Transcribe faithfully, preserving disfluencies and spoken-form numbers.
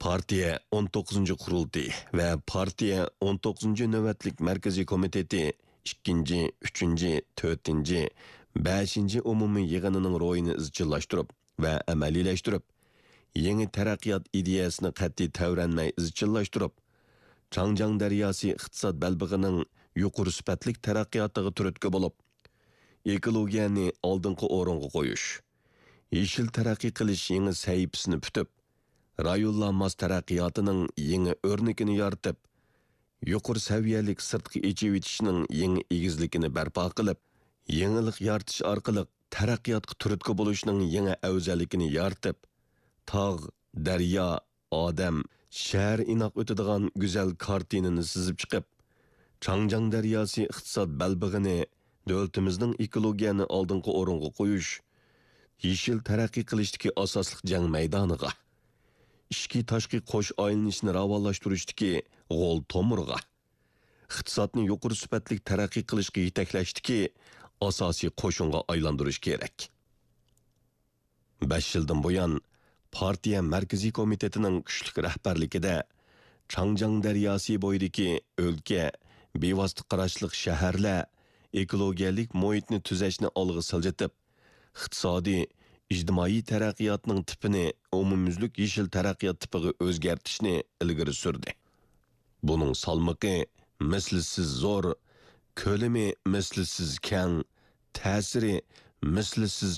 پارتىيە ئون توققۇزىنچى قۇرۇلتىيى ۋە پارتىيە ئون توققۇزىنچى نۆۋەتلىك مەركىزىي كومىتېتى ئىككىنچى، ئۈچىنچى، تۆتىنچى، بەشىنچى ئومۇمىي يىغىنىنىڭ روھىنى ئىزچىللاشتۇرۇپ ۋە ئەمەلىيلەشتۈرۈپ، يېڭى تەرەققىيات ئىدىيەسىنى قەتئىي تەۋرەنمەي ئىزچىللاشتۇرۇپ، چاڭجياڭ دەرياسى ئىقتىساد بەلبېغىنىڭ يۇقىرى سۈپەتلىك تەرەققىياتىغا تۈرتكە بولۇپ، ئېكولوگىيەنى ئالدىنقى ئورۇنغا قويۇش، يېشىل تەرەققىي قىلىش يېڭى سەھىپىسىنى پۈتۈپ، رايونلار ماس تەرەققىياتىنىڭ يېڭى ئۆرنىكىنى يارىتىپ، يۇقىرى سەۋىيەلىك سىرتقا ئېچىۋېتىشنىڭ يېڭى ئېگىزلىكىنى بەرپا قىلىپ، يېڭىلىق يارىتىش ئارقىلىق تەرەققىياتقا تۈرتكە بولۇشنىڭ يېڭى ئەۋزەللىكىنى يارىتىپ، تاغ، دەريا، ئادەم، شەھەر ئىناق ئۆتىدىغان گۈزەل كارتىنىنى سىزىپ چىقىپ، چاڭجياڭ دەرياسى ئىقتىساد بەلبېغىنى دۆلىتىمىزنىڭ ئېكولوگىيەنى ئالدىنقى ئورۇنغا قويۇش، يېشىل تەرەققىي قىلىشتىكى ئاساسلىق جەڭ مەيدانىغا، ئىچكى تاشقى قوش ئايلىنىشنى راۋانلاشتۇرۇشتىكى غول تومۇرغا، ئىقتىسادنى يۇقىرى سۈپەتلىك تەرەققىي قىلىشقا يېتەكلەشتىكى ئاساسىي قوشۇنغا ئايلاندۇرۇش كېرەك. بەش يىلدىن بۇيان، پارتىيە مەركىزىي كومىتېتىنىڭ كۈچلۈك رەھبەرلىكىدە، چاڭجياڭ دەرياسى بويىدىكى ئۆلكە، بىۋاسىتە قاراشلىق شەھەرلەر ئېكولوگىيەلىك مۇھىتنى تۈزەشنى ئالغا سىلجىتىپ، ئىقتىسادىي، ئىجتىمائىي تەرەققىياتنىڭ تىپىنى ئومۇميۈزلۈك يېشىل تەرەققىيات تىپىغا ئۆزگەرتىشنى ئىلگىرى سۈردى. بۇنىڭ سالمىقى مىسلىسىز زور، كۆلىمى مىسلىسىز كەڭ، تەسىرى مىسلىسىز